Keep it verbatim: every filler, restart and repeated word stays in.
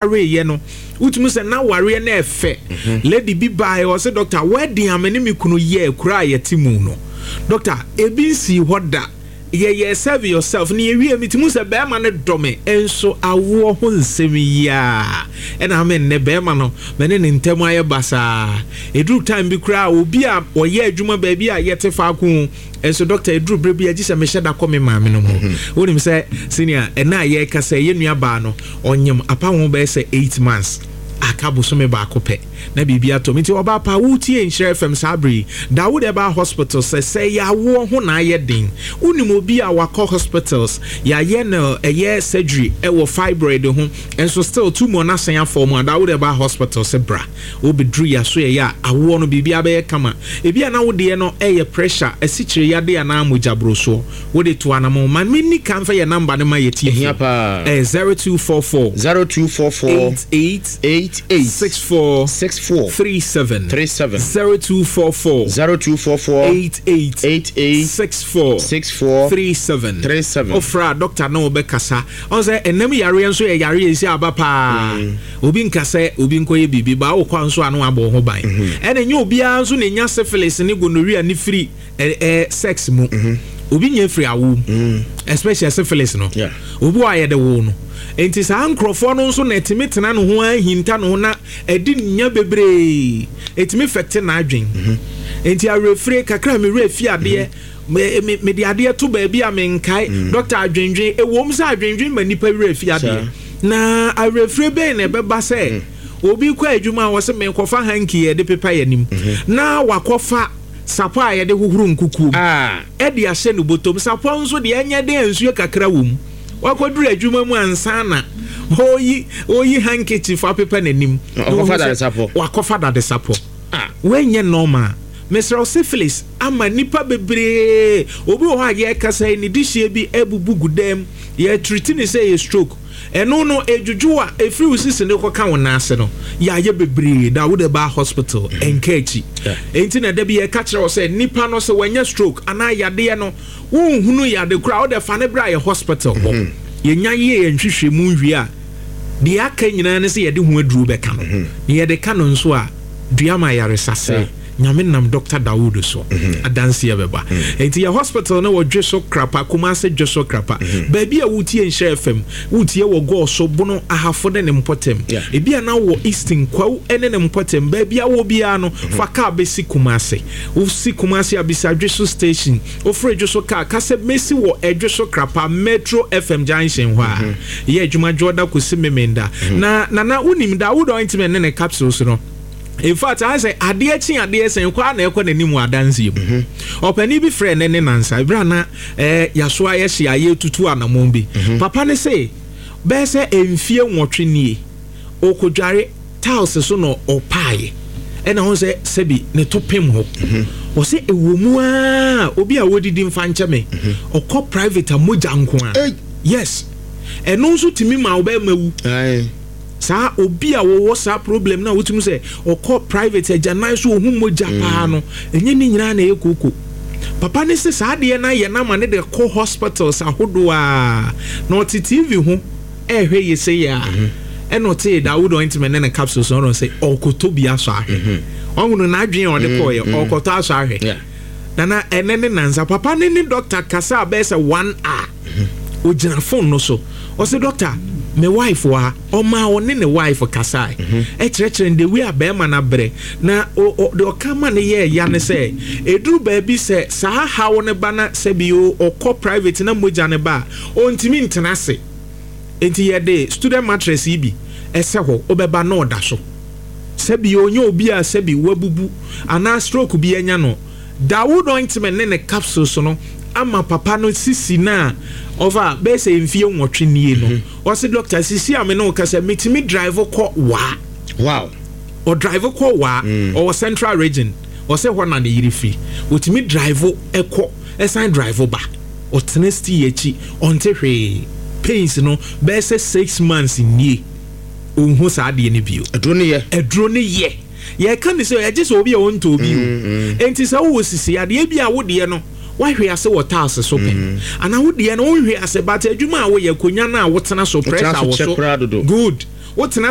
Wareyɛ no, wotumi sɛ na wareɛ no ɛfɛ. Lady bi baeɛ, ɔsɛ, "Doctor, wedding a me ne me kunu yɛ kura a yɛte mu no, doctor, ebi nsii hɔ da. Yɛyɛ serve yourself ne yɛwie. Mi ti mu sɛ bɛrima no dɔ me, nso awoɔ ho nsɛm yiaa ɛna ame nnɛ bɛrima no mɛne ne ntɛm ayɛ basaa. Ɛduru time bi koraa, obi a ɔyɛ adwuma baabi a yɛte faako nso, doctor, ɛduru berɛ bi agye sɛ mehyɛ da kɔ me maame no mu." Wonim sɛ sɛnea ɛna a yɛreka sɛ yɛ nua baa no ɔnyem apa ho bɛyɛ sɛ eight months aka bosome baako pɛ na biribi atɔ m. Nti ɔbaa pa wotie Nhyerɛ F M saa bere yi, Dawood ɛbaa hospital sɛ sɛ yɛawoɔ ho na ayɛ den. Wonim obi a wakɔ hospitals, yɛayɛ no ɛyɛ surgery ɛwɔ fibroid ho, nso still tumor no asan afɔ mu a, Dawood ɛbaa hospital sɛ bra, wobɛduru yɛaso yɛyɛ a awoɔ no biribi abɛyɛ kama. Ebi a na wodeɛ no ɛyɛ pressure, asikyire yade anaa mogyaborosoɔ, wode to anamo ma menni ka mfa yɛ number no ma yɛtie. Ɛhia paa. Ɛyɛ zero two four four zero two four four eight eight eight eight six four six four three seven. three seven. zero two four four zero two four four eight eight eight eight six four six four three seven. three seven. Ɔfra doctor na wɔbɛkasa. Ɔn sɛ ɛnam yareɛ nso yɛ yareɛ esi aba paa. Obi nka sɛ obi nkɔyɛ biribi ba wokɔ nso a no abɔ wo ho ban. Ɛna nyɛ obiara nso na enya syphilis ne gonorrhea ne firi ɛ ɛ sex mu. Obi nya firi awo mu, especially syphilis no. Yeah. Obi wɔ a yɛde wo no, nti saa nkurɔfoɔ no nso na ɛtumi tena ne ho ahinta ne ho na ɛdi nya bebree, ɛtumi fɛte n'adwen. Nti awerɛfire kakra, me werɛ fi adeɛ, me me mede adeɛ to baabi a menkae. Doctor, adwendwen ɛwom sɛ adwendwen ma nipa werɛ fi adeɛ, na awerɛfire bɛn na ɛbɛba sɛ obi kɔ adwuma a wɔsɛ menkɔfa hanky yɛde pepa yɛ anim na wakɔfa sapɔ a yɛde hohoro nkukuo mu Ah. ɛde ahyɛ no bɔtɔm? Sapɔ nso deɛ, ɛnyɛ den nsuo kakra wɔ mu. Wakɔduru adwuma mu ansa na ɔyi ɔyi handkerchief apepa n'anim. Ɔkɔfa dade sapɔ. Wakɔfa dade sapɔ. Ah. Wɔnyɛ normal. Mesrɛ, syphilis ama nipa bebree. Obi wɔ hɔ a yɛrekasa yi, ne dihyie bi abubu gu dam, yɛtreat ne sɛ yɛ stroke. Ɛno no edwudwu a efiri wo sisi ne kɔka wo nan ase no, yɛayɛ bebree da wode ba hospital ɛnka akyi. Enti na da bi yɛka kyerɛ wo sɛ nipa no sɛ wanya stroke anaa yadeɛ no, wonhunu yade koraa, wode fa ne berɛ a yɛ hospital hɔ yɛnya yie yɛn nhwehwɛ mu nwie a, deɛ aka nyinaa ne sɛ yɛde ho aduro bɛka no. Na yɛde ka no nso a, dua ma ayaresa sɛ Nyame nam Doctor Dawood so adanseɛ bɛba. Enti yɛ hospital no wɔ Dwe So Krapa, Kumase Dwe So Krapa. Baabi a wotie Nhyɛ F M, wotie wɔ Gɔɔ so, Bono Ahafo ne ne mpɔtam, Yeah. ebi a na wɔ Eastern Kwawu ne ne mpɔtam, baabi a wɔ biara no, fa kaa bɛsi Kumase. Wosi Kumase a, bisa Dwe So station. Wofrɛ Dwe So kaa ka sɛ mɛsi wɔ Ɛdwe So Krapa Metro F M junction hɔ a yɛ adwuma dwoɔda kɔsi Memenda. Na nana wonim Dawood ointment ne ne capsules no, in fact, ayɛ sɛ adeɛ kye adeɛ sɛn kɔ a na ɛkɔ n'anim wɔ adanseɛ mu. Ɔpanin bi frɛ ne ne nansa ebere a na ɛɛ yaso ayɛ hye a yɛtutu anammɔn bi. Papa ne se bɛyɛ sɛ mfie nwɔtwe nie, ɔkɔdware tiles so na ɔpaeɛ, ɛna ho sɛ sɛbi ne to pem hɔ. Ɔsɛ ɛwɔ mu aa, obi a wɔdidi mfa nkyɛ me, ɔkɔ private a, mogya nko a. Ei. Yes, ɛno nso tumi ma wobɛma wu. Aye. Saa obi a wɔwɔ saa problem na wotumi sɛ ɔkɔ private agyanan so ohun mogya paa no, ɛnyɛ ne nyinaa na ɛyɛ kooko. Papa ne sɛ saa adeɛ no ayɛ n'ama ne de kɔ hospitals ahodoɔ a, na ɔte T V ho ɛɛhwɛ yɛ sɛ yɛ a, ɛna ɔte Dawood ointment ne ne capsules no, ɔno sɛ ɔkɔtɔ bi asɔ ahwɛ. Ɔhunu n'adwene a ɔde kɔɔyɛ, ɔkɔtɔ asɔ ahwɛ. Yeah. Nana, ɛnɛ ne nansa papa ne ne doctor kasa a bɛyɛ sɛ one hour. Ogyina phone no so, ɔsɛ, "Doctor, me wife wɔ ha." Ɔmaa ɔne ne wife kasae, ɛkyerɛkyerɛ no the way a bɛrima no abrɛ na o- o- deɛ ɔka ma no yɛ ɛya ne sɛ ɛduru baabi sɛ saa haw no ba na sɛbi o, ɔkɔ private na mogya no ba a, ɔntumi ntena ase. Nti yɛde student mattress yi bi ɛsɛ hɔ, wobɛba na ɔda so. Sɛbi onye obi a sɛbi wabubu anaa stroke bi anya no, Dawood ointment ne ne capsules no ama papa no sisi na ɔfa bɛyɛ sɛ mfie nwɔtwe nie no. Ɔsi, "Doctor, sisi a me ne wo kasa, metumi drive kɔ Waa." Wow. Ɔdrive kɔ Waa. Ɔwɔ Central Region, ɔsɛ hɔ na ne yere firi. Ɔtumi drive ɛkɔ, ɛsan drive ba. Ɔtena sti akyi, ɔnte hwee. Pains no bɛyɛ sɛ six months nie, ɔnhu saa adeɛ no bio. Aduro no yɛ. Aduro no yɛ. Yɛka ne sɛ ɛgye sɛ obi a ɔntɔ obi o. Enti sɛ wowɔ sisi adeɛ bi a, wodeɛ no wahwe ase wɔ tiles so pɛ anaa wodeɛ no wonhwe ase, but adwuma a woyɛ, akonnwa no a wotena so, pressure so wɔ kyɛ so koraa dodo. Good. Wotena